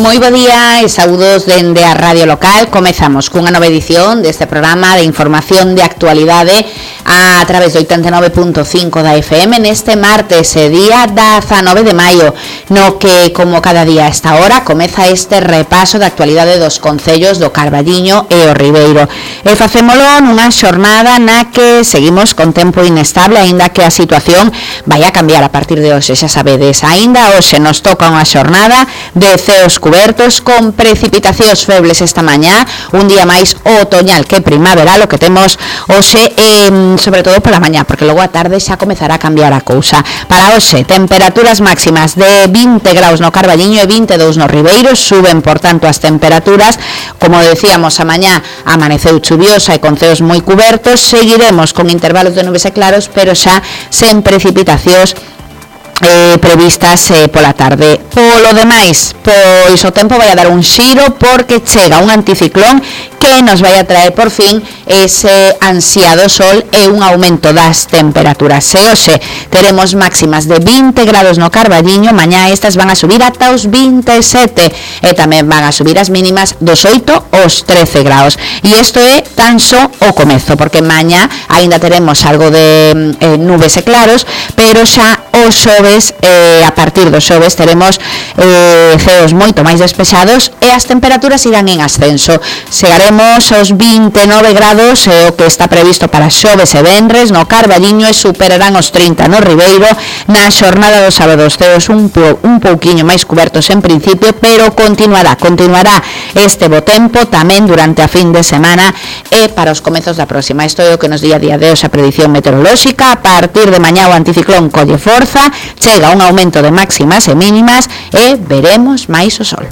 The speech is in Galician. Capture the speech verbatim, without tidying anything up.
Moi bo día e saúdos dende a Radio Local. Comezamos cunha nova edición deste programa de información de actualidade a través do oitenta e nove punto cinco da F M neste martes, día dezanove de maio, no que, como cada día a esta hora, comeza este repaso da actualidade dos concellos do Carballiño e o Ribeiro. E facémolo nunha xornada na que seguimos con tempo inestable, aínda que a situación vai a cambiar a partir de hoxe, xa sabedes. Aínda hoxe nos toca unha xornada de ceos cubertos con precipitacións febles esta mañá, un día máis otoñal que primaveral o que temos hoxe, eh, sobre todo pola mañá, porque logo a tarde xa comezará a cambiar a cousa. Para hoxe, temperaturas máximas de vinte graus no Carballiño e vinte e dous no Ribeiro, suben por tanto as temperaturas. Como decíamos, a mañá amaneceu chuviosa e con ceos moi cubertos, seguiremos con intervalos de nubes e claros, pero xa sen precipitacións Eh, previstas eh, pola tarde. Polo demais, pois o tempo vai a dar un xiro porque chega un anticiclón que nos vai a traer por fin ese ansiado sol e un aumento das temperaturas. E hoxe teremos máximas de vinte grados no Carballiño, mañá estas van a subir ata os vinte e sete e tamén van a subir as mínimas dos oito aos trece graus. E isto é tan só o comezo, porque mañá aínda teremos algo de eh, nubes e claros, pero xa o xoves, eh, a partir do xoves teremos eh, ceos moito máis despexados e as temperaturas irán en ascenso. Chegaremos aos vinte e nove grados, eh, o que está previsto para xoves e venres no Carballiño, e superarán os trinta no Ribeiro. Na xornada dos sábados ceos un, po, un pouquiño máis cubertos en principio, pero continuará, continuará este bo tempo tamén durante a fin de semana e para os comezos da próxima. Isto é o que nos di a día de hoxe a predición meteorolóxica. A partir de mañá o anticiclón colle forza, chega un aumento de máximas e mínimas e veremos máis o sol.